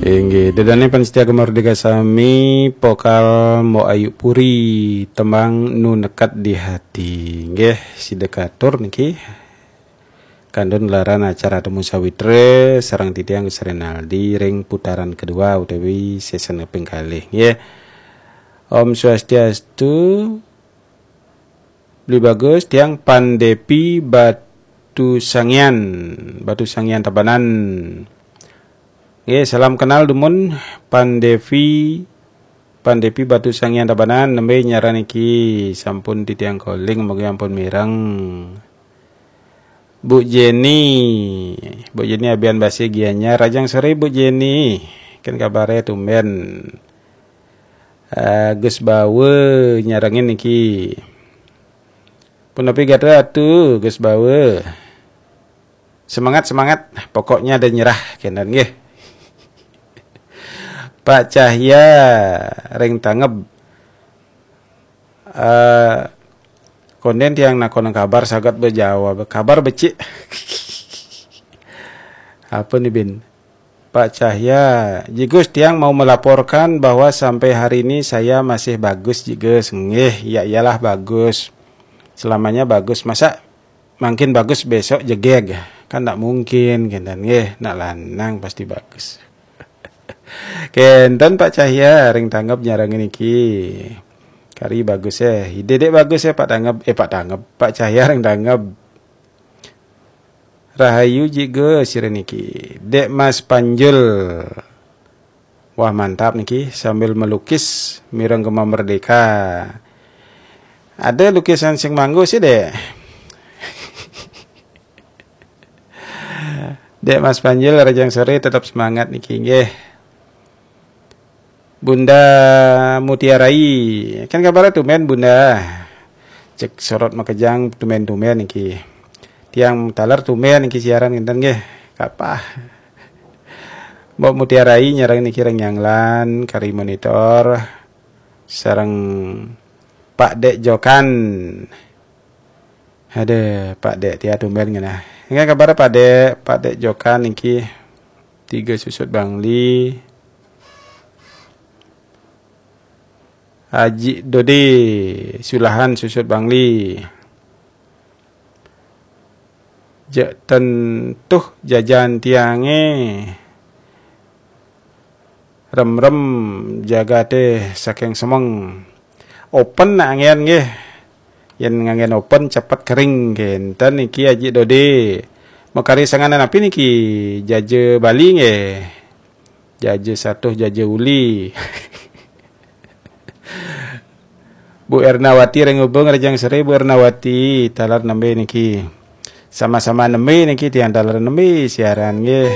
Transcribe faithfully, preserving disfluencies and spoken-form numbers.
Inggih, dedane pensetia Gema Merdeka sami, pokal Mbok Ayu Puri, tembang Nu Nekat di Hati. Nggih, sida katur niki. Kantun laran acara Temu Sawitra sareng titiang Gus Renaldi ring putaran kedua utawi season ping kalih, nggih. Om Swastiastu, Beli Bagus, tiang Pandepi Batu Sangian, Batu Sangian Tabanan. Nggih, salam kenal dumun Pandepi, Pandepi Batu Sangian Tabanan, nembe nyaran niki sampun titiang calling, mugi ampun mireng. Bu Jenny, Bu Jenny Abian Basi Gianyar, Rajang Sore Bu Jenny, kan kabare tumben. Eh, Gus Bawe nyarengin niki. Punapi gatra atu Gus Bawe. Semangat, semangat, pokoknya ada nyerah kenten nggih. Pak Cahya ring Tangeb. Eh, konden tiang nakon kabar saget bejawab, kabar becik. Apa nih, Bin? Pak Cahya, Jigus, tiang mau melaporkan bahwa sampai hari ini saya masih bagus, Jigus. Nggih, ya iyalah bagus. Selamanya bagus. Masa makin bagus besok jegeg? Kan ndak mungkin, kenten nggih. Nak lanang pasti bagus. Kenten Pak Cahya ring Tangeb nyarengin niki. Kari bagus eh. Ide dek bagus eh Pak Tangeb, eh Pak Tangeb, Pak Cahya ring Tangeb. Rahayu Jigus sira niki. Dek Mas Panjul. Wah, mantap niki, sambil melukis mireng Gema Merdeka. Ada lukisan sing manggo sih, Dek. Dek Mas Panjul, Rajang Sore, tetap semangat niki nggih. Bunda Mutiarai, kan kabar tumben Bunda. Cek sorot makejang tumben-tumben niki. Tiang taler tumben niki siaran ngenten nggih. Kapah. Mbok Mutiarai nyareng niki ring nyanglan kari monitor sareng Pak Dek Jokan. Ada Pak Dek tia tumben ngenah. Nggih kabar Pak Dek, Pak Dek Jokan niki tiga susut Bangli. Haji Dode Sulahan susut Bangli. Jek tentuh jajan tiange. Rem-rem jagate saking semeng. Open nak angen nggih. Yen ngangen open cepet kering kenten niki Haji Dode. Makari sanganan api niki jaja Bali nggih. Jaja satuh jaja uli. Bu Ernawati ring Ubung Rajang Sore, Bu Ernawati taler nembe niki. Sama-sama nembe niki tiang taler nembe siaran nggih.